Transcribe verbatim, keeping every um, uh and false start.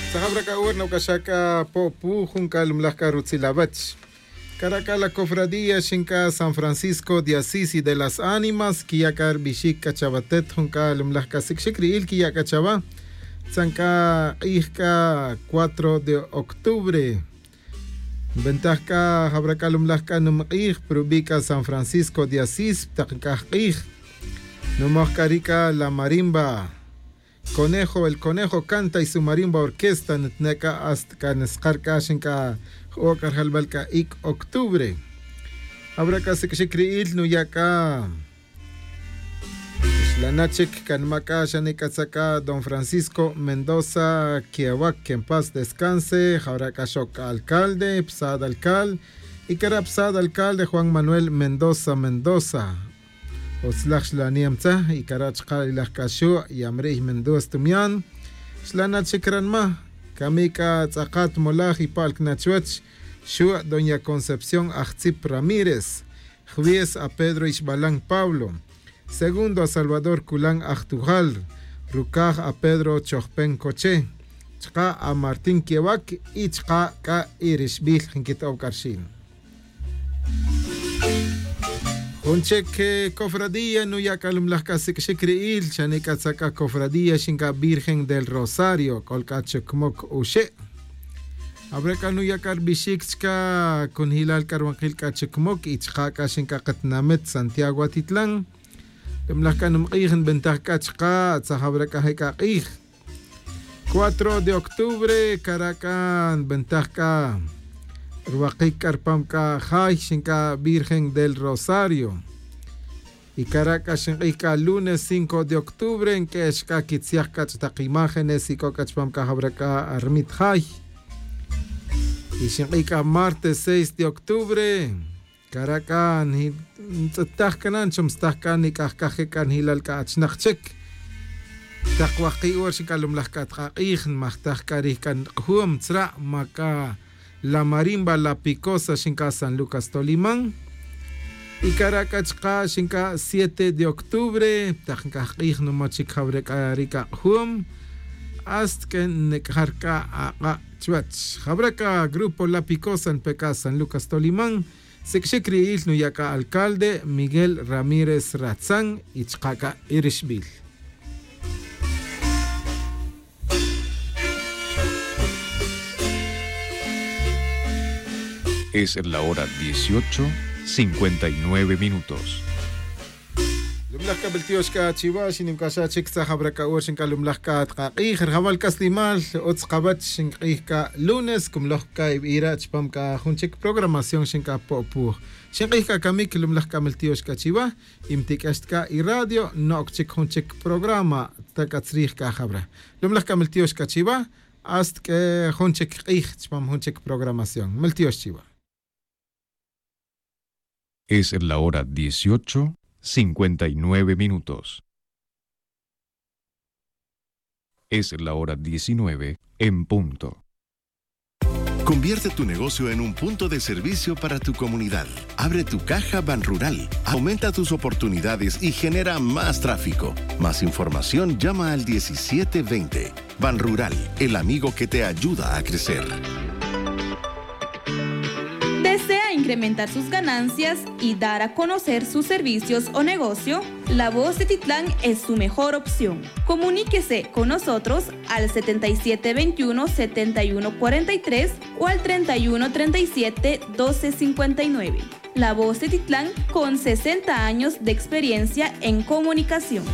Tzajab ra c'a hora noc'axa c'a po'pu jun c'a lumlaj c'a rutzil awech. Cara' c'a la cofradía xin c'a san francisco de asís y de las ánimas quiya' c'a rbixic c'a chawatet jun c'a lumlaj c'a sic'xic ri'il quiya' c'a chawa. Tzan c'a k'ij c'a cuatro de octubre. Nbentaj c'a jawra c'a lumlaj c'a numk'ij prubi' c'a san francisco de asís ptak nk'aj k'ij. Numoj c'a ri' c'a la marimba. Conejo el conejo canta y su marimba orquesta nitne' c'a hasta c'a niskar c'a xin c'a j'o' c'a rjalbal c'a ic' octubre. Awra c'a sic'xic ri'il nuya' c'a xlana' chic c'a nima' c'a xane' c'a tzak c'a don francisco mendoza quiawac que en paz descanse jawra c'a xoc c'a alcalde psad alcal. Y cara' psad alcalde juan manuel mendoza mendoza. Utzlaj xlaniemtzaj y cara' chka' ilaj c'a xu' yamri'y mendues tumian. Xlana' chic ranma' cami c'a tz'akat molaj y pa'l cna' chuwech. Xu' doña concepción ajtzip ramírez. Jwies a pedro ixbalan pablo. Segundo a salvador culan ajtujal. Rucaj a pedro chojpen coche. Chka' a martín quewac y chka' c'a irixbil nquito'ow c'a rxin. Jun chic cofradía nuya' c'a lumlaj c'a sic'xic ri'il xane' c'a tzak c'a cofradía xin c'a virgen del rosario c'ol c'a chucmoc uxe'. Awre' c'a nuya' c'a rbixic chca cunjilal c'a rwankil c'a chucmoc y chka' c'a xin c'a katinamit santiago atitlan. Lumlaj c'a numk'ij nbentaj c'a chka' tzaj awre' c'a je' c'a k'ij. Cuatro de octubre cara' c'a nbentaj c'a rwakic c'a rpam c'a jay xin c'a virgen del rosario. Y cara' c'a xink'ij c'a lunes cinco de octubre nq'uex c'a quitziaj c'a ch'tak imágenes y c'o c'a chpam c'a jawra c'a rmit jay. Y xink'ij c'a martes seis de octubre cara' c'a ntz'etaj c'a na nchomstaj c'a nic'aj c'a je' c'a njilal c'a achnak chic. Tak wajki' hora xink'alumlaj c'a tk'ak'ij nmajtaj c'a rij c'a nk'jum tzra' ma c'a la marimba la picosa xink'a san lucas toliman. Y cara' c'a chka' xink'a siete de octubre tak nk'aj k'ij numo' chic jawre' c'a ri c'a k'jum. Hasta que nnec'jar c'a ak'a' chuwech jawre' c'a grupo la picosa npe c'a san lucas toliman. Sic'xic ri'il nuya' c'a alcalde miguel ramírez ratzan y chka' c'a irixbil. Es la hora dieciocho cincuenta y nueve minutos. Lumlaj c'a miltiox c'a chiwa xinim c'a xa chic tzaj awra c'a hora xinc'a lumlaj c'a tkak'ij rjawal c'a slimal utz kawech xink'ij c'a lunes cumloj c'a ibira' chupam c'a jun chic programación xinc'a po'puj. Xink'ij c'a camic lumlaj c'a miltiox c'a chiwa. Y mtic'ex ta c'a iradio no'oc chic jun chic programa. Ta c'a tzrij c'a jawra lumlaj c'a miltiox c'a chiwa. Hasta q'ue jun chic k'ij chupam jun chic programación miltiox chiwa. Es la hora dieciocho cincuenta y nueve minutos. Es la hora diecinueve en punto. Convierte tu negocio en un punto de servicio para tu comunidad. Abre tu caja Ban Rural. Aumenta tus oportunidades y genera más tráfico. Más información, llama al diecisiete veinte. Ban Rural, el amigo que te ayuda a crecer. ¿Desea incrementar sus ganancias y dar a conocer sus servicios o negocio? La Voz de Titlán es su mejor opción. Comuníquese con nosotros al setenta y siete veintiuno, setenta y uno cuarenta y tres o al treinta y uno treinta y siete, doce cincuenta y nueve. La Voz de Titlán, con sesenta años de experiencia en comunicación.